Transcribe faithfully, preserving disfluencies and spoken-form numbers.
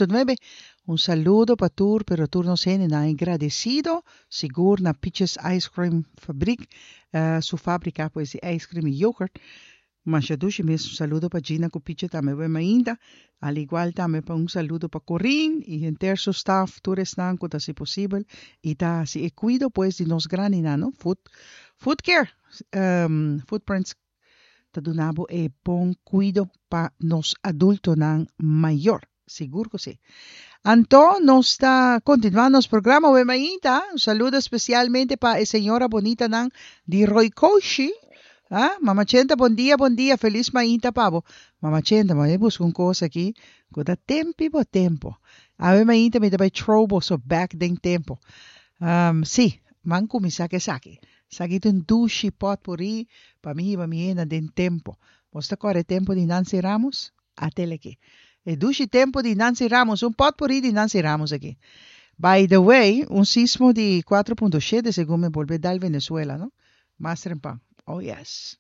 punto nuebe. Un saludo pa tur, pero tur nos hendenan agradecido, sigur na Peaches Ice Cream Fabriek, uh, su fabrica pues di ice cream y yoghurt. Masha dushi mes. Un saludo pa Gina cu Piche tambe bon mainta. Al igual tambe pa un saludo pa Corin y henter su staff, tur esnan cu ta haci posibel y ta haci e cuido pues di nos grandinan, no? Food, food care, um, Footprints ta duna bo e bon cuido pa nos adultonan mayor. Sigur cu si. Anto, nos ta continuando nos programa awe mainta. Un saludo especialmente pa e señora bonita nan di Roykoshi. Ah, Mama Chenta, bon dia, bon dia. Feliz mainta pa bo. Mama Chenta, mi a busca un cos aki. Cu ta tempo bo tempo. Awe mainta mi ta bay throw boso back den tempo. Um, si, ban cuminsa cu esaki. Esaki ta un dushi potpourri pa mi, pa mi den tempo. Bo ta corda tempo di Nancy Ramos? At'e aki. E dushi tempo di Nancy Ramos, un potpourri di Nancy Ramos aki. By the way, un sismo di cuater punto shete segun mi a bolbe dal Venezuela, no? Mas trempan. Oh yes.